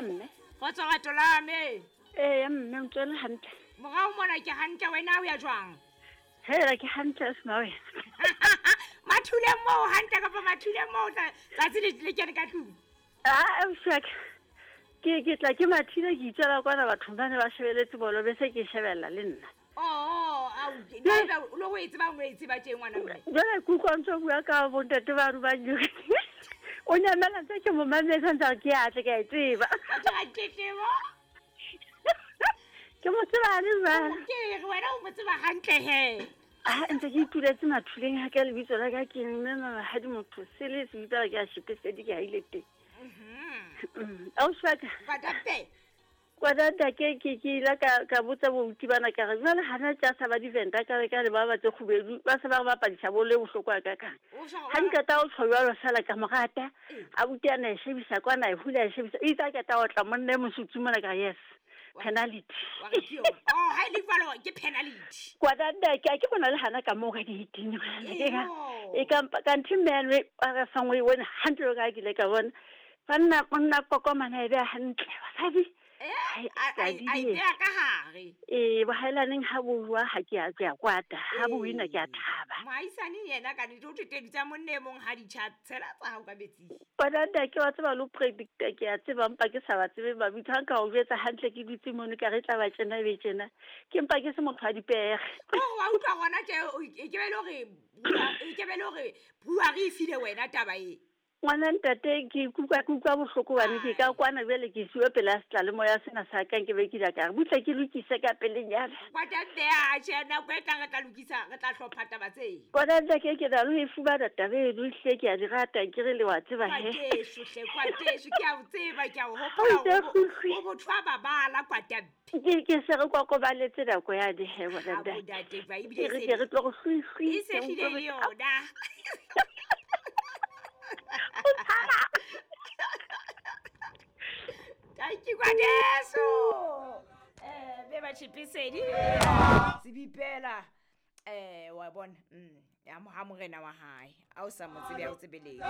Dumela mme. Kgotso rato la me. Ee mme o tswele hantle. Morao mona ke hantle wena o ya jwang? Hela ke hantle sma wena. Mathuleng moo hantle kapa mathuleng moo tsatsi le kene ka tlung? Ah, ausi ke tla ke mathile ke itswela kwana bathong ba ne ba shebeletse bolo be se ke shebella le nna. Oh, au, le go e tseba o e tseba tje ngwana mme. Jwale ke utlwa ntse o bua ka bontate ba rubang o nyamela ntse ke mo mametse ntse ke a tle ke a e tseba. Batho ga tletlebo. Ke mo tseba le jwale. Ke re wena o mo tseba hantle he. Ah, ntse ke ituletse mathuleng ha ka lebitso la ka ke mme mamahadi motho sele se bitsa ke a shepesedi ke haile teng. Ausi wa ka. Kwatape. Kwadata ke ile ka botsa bouti bana ka re jwale hana tja sa ba diventa ka re ka le ba batse kgubedu ba se ba re bapadisa bolo e bohloko a kakang. Ha nketa o tjho jwalo fela ka morata abuti ana e shebisa kwana e hula e shebisa itse a keta o tla monna e mosutsu mona ka yes. Penalty. Wa re ke yona. Oh, ha e le jwalo ke penalty. Kwadata ke bona le hana ka moo ka di hiting. E ka kanthe mme a re fangwe wena hantle ka ke ile ka bona. Banna monna kokomana e be hantle basadi. A ipea ka hare. Ee, bohaelaneng ha bo bua ha ke a kwata, ha bo wina ke a thaba. Moahisane yena ka nnete o thoteditse monna e mong ha di tjha tshela tsa hao ka metsing. Kwadata ke wa tseba le ho predicta ke a tseba mpa ke sa ba tsebe mabitso ha nka o jwetsa hantle ke dutse mono ka re tla ba tjena be tjena. Ke mpa ke se motho wa dipere. Oh, wa utlwa hona tje e ke be le hore e ke be le hore brewery e file wena taba e. Ngwana ntate ke ikutlwa bohloko bane ke ka kwana jwale ke siwe pela seyalemoya sena sa ka nke be ke ile ka re butle ke lokise ka pelenyana. Kwadata a tjhe nako e tlang re tla lokisa re tla hlopha taba tse. Kwadata ke na le ho e fumana taba eno ehlile ke a di rata ke re le wa tseba he. Kwateso hle kwateso ke a o tseba ke a o hopola o motho wa babala kwatabe. Ke se re kokobaletse nako yane he ngwana ntate. Ntate ba ebile se re tlo go hlwi e se hlile le yona. Thank you kwadeso. Be ba chipisedi. Tsibipela. Wa bona. Ya mo ha morena wa hae. A o sa mo tsebe a o tsebeleng.